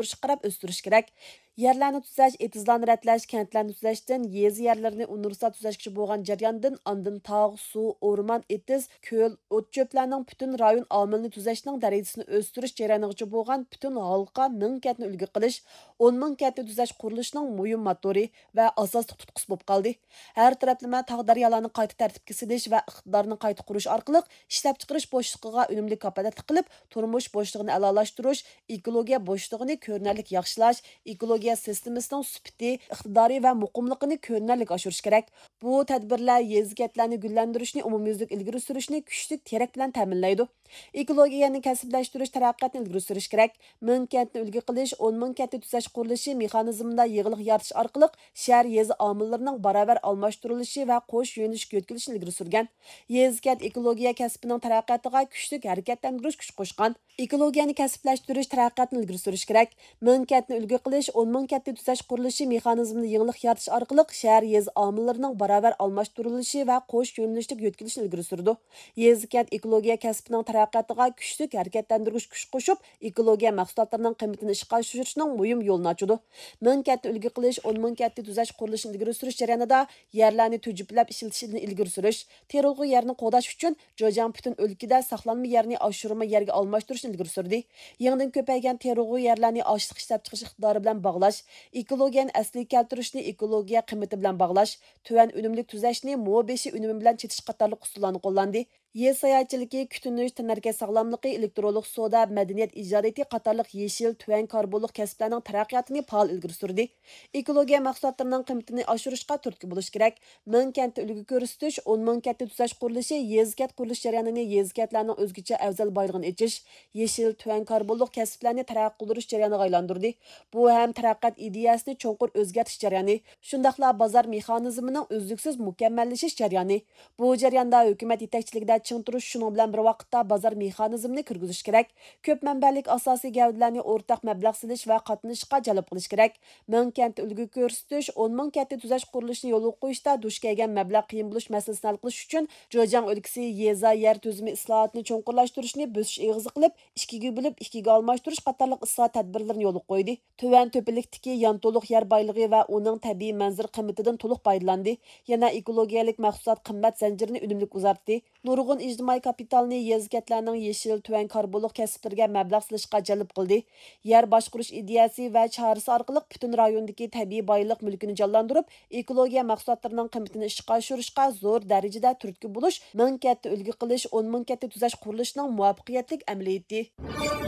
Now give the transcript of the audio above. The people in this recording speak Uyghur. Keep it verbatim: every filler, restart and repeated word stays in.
ئاشۇرۇشقا قاراپ ئۆستۈرۈش كېرەك. يەرلەرنى تۈزەش، ئېتىزلارنى رەتلەش، كەنتلەرنى تۈزەشتىن يېزا يەرلىرىنى ئۇنىۋېرسال تۈزەشكىچە بولغان جەرياندىن، ئاندىن تاغ، سۇ، ئورمان، ئېتىز، كۆل، ئوت-چۆپلەرنىڭ پۈتۈن رايون ئامىلىنى تۈزەشنىڭ دەرىجىسىنى ئۆستۈرۈش جەريانىغىچە بولغان پۈتۈن ھالقا مىڭ كەنتنى ئۈلگە قىلىش، ئون مىڭ كەنتنى تۈزەش قۇرۇلۇشىنىڭ مۇھىم موتورى ۋە ئاساسلىق تۇتقىسى بولۇپ قالدى. ھەر تەرەپلىمە تاغ-دەريالارنى قايتا تەرتىپكە سېلىش ۋە ئىقتىدارنى قايتا قۇرۇش ئارقىلىق ئىشلەپچىقىرىش بوشلۇقىغا ئۈنۈملۈك كاپالەتلىك قىلىپ، تۇرمۇش بوشلۇقىنى ئەلالاشتۇرۇش، ئېكولوگىيە بوشلۇقىنى كۆرۈنەرلىك ياخشىلاش، ئېكولوگىيە سىستېمىسىنىڭ سۈپىتى، ئىقتىدارى ۋە مۇقىملىقىنى كۆرۈنەرلىك ئاشۇرۇش كېرەك. بۇ تەدبىرلەر يېزا-كەنتلەرنى گۈللەندۈرۈشنى ئومۇميۈزلۈك ئىلگىرى سۈرۈشنى كۈچلۈك تىرەك بىلەن تەمىنلەيدۇ. ئېكولوگىيەنى كەسىپلەشتۈرۈش تەرەققىياتنى ئىلگىرى سۈرۈش كېرەك. مىڭ كەنتنى ئۈلگە قىلىش، ئون مىڭ كەنتنى تۈزەش قۇرۇلۇشى مېخانىزمىدا يېڭىلىق يارىتىش ئارقىلىق شەھەر يېزا ئامىللىرىنىڭ باراۋەر ئالماشتۇرۇلۇشى ۋە قوش يۆنىلىشكە يۆتكىلىشىنى ئىلگىرى سۈرگەن. يېزا-كەنت ئېكولوگىيە كەسپىنىڭ تەرەققىياتىغا كۈچلۈك ھەرىكەتلەندۈرگۈچ كۈچ قوشقان. ئېكولوگىيەنى كەسىپلەشتۈرۈش تەرەققىياتىنى ئىلگىرى سۈرۈش كېرەك. مىڭ كەنتنى ئۈلگە قىلىش، ئون مىڭ كەنتنى تۈزەش قۇرۇلۇشى مېخانىزمىدا يېڭىلىق يارىتىش ئارقىلىق شەھەر يېزا ئامىللىرىنىڭ باراۋەر ئالماشتۇرۇلۇشى ۋە قوش يۆنىلىشلىك يۆتكىلىشىنى ئىلگىرى سۈرىدۇ. يېزا-كەنت ئېكولوگىيە كەسپىنىڭ تەرەققىياتىغا كۈچلۈك ھەرىكەتلەندۈرگۈچ كۈچ قوشۇپ، ئېكولوگىيە مەھسۇلاتلىرىنىڭ قىممىتىنى ئىشقا ئاشۇرۇشنىڭ مۇھىم يولىنى ئاچىدۇ. مىڭ كەنتنى ئۈلگە قىلىش، ئون مىڭ كەنتنى تۈزەش قۇرۇلۇشىنى ئىلگىرى سۈرۈش جەريانىدا يەرلەرنى تۈجۈپلەپ ئىشلىتىشنى ئىلگىرى سۈرۈش، تېرىلغۇ يەرنى قوغداش ئۈچۈن جېجياڭ پۈتۈن ئۆلكىدە ساقلانما يەرنى ئاشۇرما يەرگە ئالماشتۇرۇشنى ئىلگىرى سۈردى. يېڭىدىن كۆپەيگەن تېرىلغۇ يەرلەرنى ئاشلىق ئىشلەپچىقىرىش ئىقتىدارى بىلەن باغلاش، ئېكولوگىيەنى ئەسلىگە كەلتۈرۈشنى ئېكولوگىيە قىممىتى بىلەن باغلاش، تۆۋەن ئۈنۈملۈك تۈزەشنى مو بېشى ئۈنۈمى بىلەن چېتىش قاتارلىق ئۇسۇللارنى قوللاندى. يېزا ساياھەتچىلىكى، كۈتۈنۈش، تەنھەرىكەت ساغلاملىقى، ئېلېكترونلۇق سودا، مەدەنىيەت ئىجادىيىتى قاتارلىق يېشىل، تۆۋەن كاربونلۇق كەسىپلەرنىڭ تەرەققىياتىنى پائال ئىلگىرى سۈردى. ئېكولوگىيە مەھسۇلاتلىرىنىڭ قىممىتىنى ئاشۇرۇشقا تۈرتكە بولۇش كېرەك. مىڭ كەنتتە ئۈلگە كۆرسىتىش، ئون مىڭ كەنتتە تۈزەش قۇرۇلۇشى يېزا-كەنت قۇرۇلۇش جەريانىنى يېزا-كەنتلەرنىڭ ئۆزگىچە ئەۋزەل بايلىقىنى ئېچىش، يېشىل، تۆۋەن كاربونلۇق كەسىپلەرنى تەرەققىي قىلدۇرۇش جەريانىغا ئايلاندۇردى. بۇ ھەم تەرەققىيات ئىدىيەسىنى چوڭقۇر ئۆزگەرتىش جەريانى، شۇنداقلا بازار مېخانىزمىنىڭ ئۈزلۈكسىز مۇكەممەللىشىش جەريانى. بۇ جەرياندا ھۆكۈمەت يېتەكچىلىكىدە چىڭ تۇرۇش، شۇنىڭ بىلەن بىر ۋاقىتتا بازار مېخانىزمىنى كىرگۈزۈش كېرەك. كۆپ مەنبەلىك ئاساسىي گەۋدىلەرنى ئورتاق مەبلەغ سېلىش ۋە قاتنىشىشقا جەلپ قىلىش كېرەك. مىڭ كەنتتە ئۈلگە كۆرسىتىش، ئون مىڭ كەنتتە تۈزەش قۇرۇلۇشىنى يولغا قويۇشتا دۇچ كەلگەن مەبلەغ قىيىن بولۇش مەسىلىسىنى ھەل قىلىش ئۈچۈن، جېجياڭ ئۆلكىسى يېزا يەر تۈزۈمى ئىسلاھاتىنى چوڭقۇرلاشتۇرۇشنى بۆسۈش ئېغىزى قىلىپ، ئىككىگە بۆلۈپ، ئىككىگە ئالماشتۇرۇش قاتارلىق ئىسلاھات تەدبىرلىرىنى يولغا قويدى. تۆۋەن تۆپىلىكتىكى يانتولۇق يەر بايلىقى ۋە ئۇنىڭ تەبىئىي مەنزىرە قىممىتىدىن تولۇق پايدىلاندى. يەنە ئېكولوگىيەلىك مەھسۇلات قىممەت زەنجىرىنى ئۈنۈملۈك ئۇزارتتى. نۇرغۇن ئىجتىمائىي كاپىتالنى يېزا-كەنتلەرنىڭ يېشىل، تۆۋەن كاربونلۇق كەسىپلىرىگە مەبلەغ سېلىشقا جەلپ قىلدى. يەر باشقۇرۇش ئىدىيەسى ۋە چارىسى ئارقىلىق پۈتۈن رايوندىكى تەبىئىي بايلىق مۈلكىنى جانلاندۇرۇپ، ئېكولوگىيە مەھسۇلاتلىرىنىڭ قىممىتىنى ئىشقا ئاشۇرۇشقا زور دەرىجىدە تۈرتكە بولۇش، مىڭ كەنتتە ئۈلگە قىلىش، ئون مىڭ كەنتتە تۈزەش قۇرۇلۇشىنىڭ مۇۋەپپەقىيەتلىك ئەمەلىيىتى.